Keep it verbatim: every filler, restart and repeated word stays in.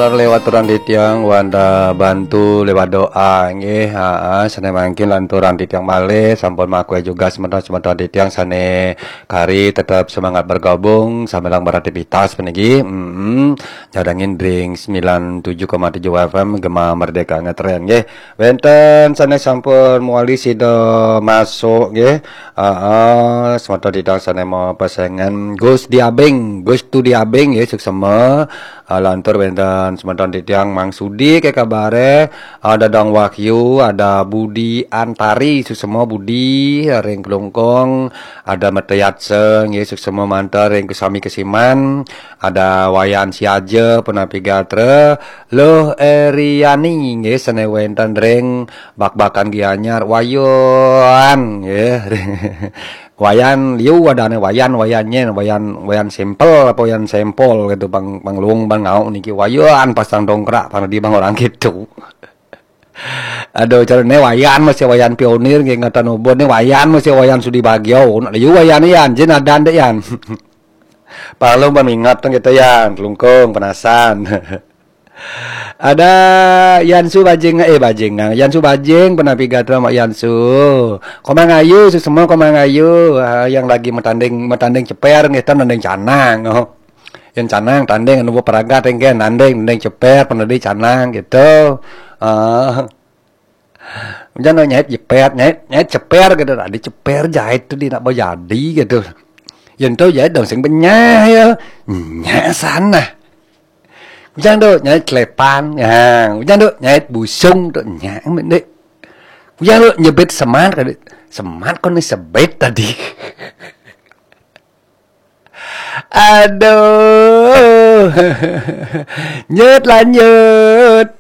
Lewat turang titiang wanda bantu lewat doa nggih. Haa, sané mangkin lan turang titiang malih sampun makue juga semeton-semeton titiang sané kari tetap semangat bergabung sambil beraktivitas puniki. Mm-mm. Nyadangin ring sembilan tujuh koma tujuh F M Gema Merdeka Ngetren nggih. Wénten sané sampun mewali sida masuk nggih. Haa, semeton titiang sané mau pesengan Gus Diabing, Gus Tu Diabing nggih, suksema. Ah, lantur wénten semeton titiang Mang Sudi, ké kabare, ada Dang Wahyu, ada Budi Antari, suksema Budi, ring Klungkung, ada Meteyatse, nggih, suksema mantar ring kesami kesiman, ada Wayan Siaja, punapi gatra, Luh Eriani, nggih, sané wénten ring Bakbakan Gianyar, Wayan, nggih. Wayan liu adané Wayan, Wayan nyén, Wayan, Wayan Sampel apa Wayan Sampol gitu, Bang, Bang Luung, Bang Ngau niki Wayan pasang dongkrak, pang di Bang orang gitu. Aduh, cara né Wayan masih Wayan pionir, nggih, ngatan ubon né Wayan masih Wayan Sudi Bagio, nak liu Wayan Yan, jin adan dek Yan. Palung ban ingat teng kita Yan, Klungkung, penasan. Ada Yansu Bajing, eh, Bajing, nah, Yansu Bajing, punapi gatra Mak Yansu. Komang Ayu, suksema Komang Ayu, ah, yang lagi metanding, metanding ceper, nggih, tan nanding canang, oh. Yang canang tanding, anu paragat, nggih, nanding, nanding ceper, penadi canang, gitu. Ah. Jangan nyait jepet, nyait, nyait ceper, gitu. Tadi ceper jahit tuh, di nak jadi, gitu. Yang tahu jahit dong, sing benyah, ya. Nyah sana. Ujang tu nyait celepan, ya. Ujang tu nyait busung tu, nyait mendek. Ujang tu nyebit semat, kali. Semat kau ni sebit tadi. Aduh. Nyut lanjut.